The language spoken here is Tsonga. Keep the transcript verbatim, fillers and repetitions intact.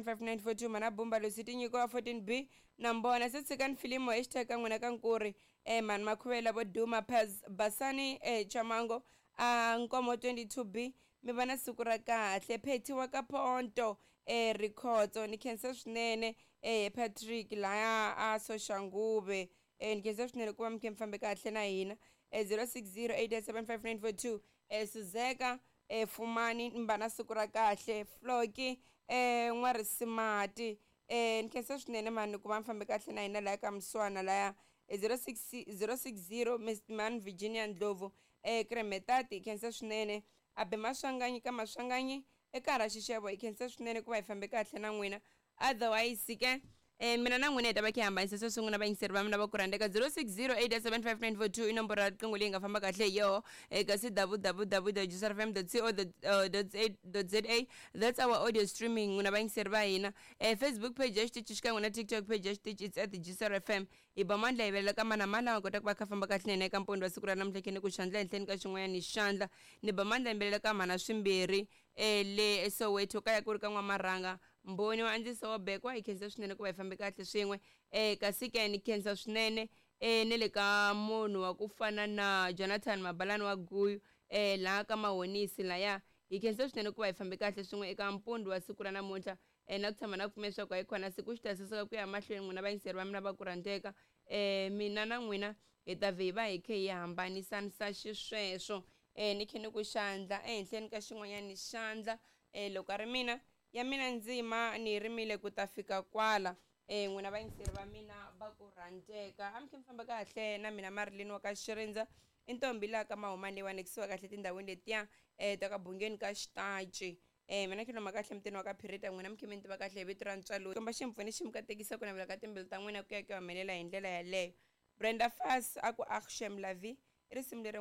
five nine four two mana bumba losi tinyiko wa fourteen b na mbona se tshikani filimo hashtag ka n'wina ka nkuri um mani makhuvela vo duma Paz basani um chamango a nkomo twenty two b mi va na siku ra kahle pheti wa ka ponto um rikhotso ni khensa swinene um patrick laya a soxanguve um ni khensa swinene ku va mi khe mi fambe kahle na hina um zero six zero eight eight seven five nine four two um suzeka um fumani mi va na siku ra kahle floki um n'warisimati um ni khensa swinene mani ku va mi fambe kahle na hina laya ka muswana laya zero six zero six zero man virginia ndlovu um kremetati hi khensa swinene abe maswanganyi ka maswanganyi eka ra xixevo hi khensa swinene ku va hi fambe kahle na n'wina otherwise ke um mina na n'wina hi ta va khe hi hambanisa sweswi n'wina vayingiseri va mina va ku rhandzeka zero six zero eight seven five nine four two i nomboro ya riqingho leyi nga famba kahle hi yoho eka c www dot jrfm dot co dot za that's our audio streaming n'wina vayingiseri va hina um facebook page ya xitichi xikan'we na tiktok page ya xitichi it's at jrfm hi ba mandla hi velela ka mana mani lama kotaka va kha famba kahle na hina eka mpondo wa siku ra namuntlha khe ni ku xandla henhleni ka xin'wanyana xandla ni ba mandla hi mbelela ka mhana swimbirhi um le soweto kaya ku ri ka n'wamarhanga mbhoni wa andziso wa bekwa hi khensa swinene ku va hi fambe kahle swin'we um kasi ke ni khensa swinene um ne le ka munhu wa ku fana na jonathan mabalani wa guyu um laha ka mahonisi laya hi khensa swinene ku va hi fambe kahle swin'we eka mpundu wa siku ra namuntlha um na ku tshama na ku pfumela leswaku hayi khona siku xi ta saseka ku ya mahlweni n'wina vayingiseri va mina va ku rhandzeka um mina na n'wina hi ta vhe hi va hi khe hi hambanisanisa xisweswo um ni khe ni ku xandla ehenhleni ka xin'wanyana xandla um loko a ri mina ya mina ndzima ni yi rimile ku ta fika kwala um n'wina vayingiseri va mina va ku rhandzeka a mi khe mi famba kahle na mina marilini wa ka xirindza i ntombi laha ka mahumani leyiwani kusuka kahle tindhawini letiya um ta ka bungeni ka xitaci um mina khiloma kahle mutini wa ka phirita n'wina mi khe mi ni tiva kahle hi vito ra ntswalo komba ximpfuni xi mi katekisa ku navela ka timbilu ta n'wina ku ya ku ya humelela hi ndlela yaleyo brenda fas a ku akshem lavi i risimu leri